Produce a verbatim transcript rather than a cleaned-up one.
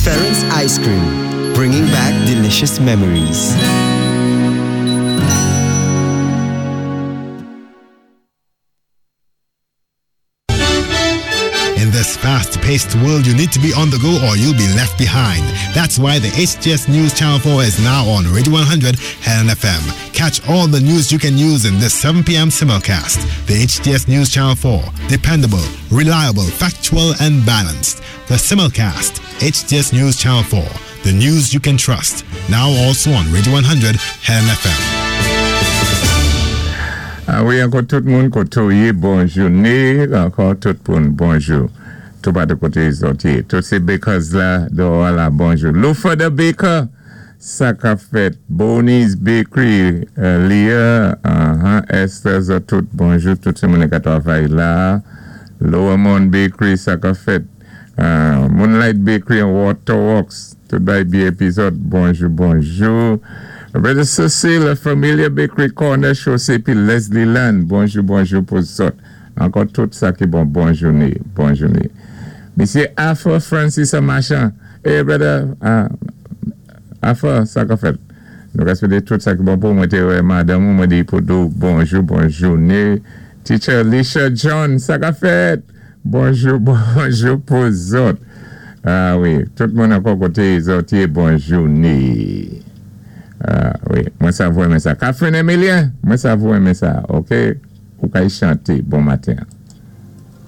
Ference Ice Cream, bringing back delicious memories. In this fast-paced world, you need to be on the go or you'll be left behind. That's why the H T S News Channel four is now on Radio one hundred Helen F M. Catch all the news you can use in this seven p m simulcast. The H T S News Channel four. Dependable, reliable, factual, and balanced. The simulcast. H T S News Channel four. The news you can trust. Now also on Radio one hundred Helen F M. Ah wi, ankò tout moun koté ou yé, bon jouné, ankò tout moun, bonjou. Tout patou koté zòt yé. Tout sé bakers la, dehors la, bonjou. Lufa the Baker, sa ka fèt. Bonnie's Bakery, euh, Leah, uh-huh, Esther, zòt tout, bonjou. Tout sé moun ka twavay la. Lower Mount Bakery, sa ka fèt. Uh, Moonlight Bakery and Waterworks, tout bay B A P zòt, bonjou, bonjou. Brother Cecile, Familia Bakery Corner, Chaussée, pi Leslie Land, bonjou, bonjou pou zòt. Ankò tout sa ki bon, bon jouné, bon jouné. Misyé Arthur Francis Machan, hey brother, uh, Arthur, sa ka fèt. Nou respekté tout sa ki bon pou mwen té wè madanm mwen di pou di ou bonjou, bon jouné. Teacher Alicia John, sa ka fèt. Bonjou, bonjou pou zòt. Ah wi, tout moun ankò koté zòt yé, bon jouné. Ah wi, mwen sa vou renmen sa. Catherine Emilien, mwen sa vou renmen sa, ok? Ou kay chanté, bon maten.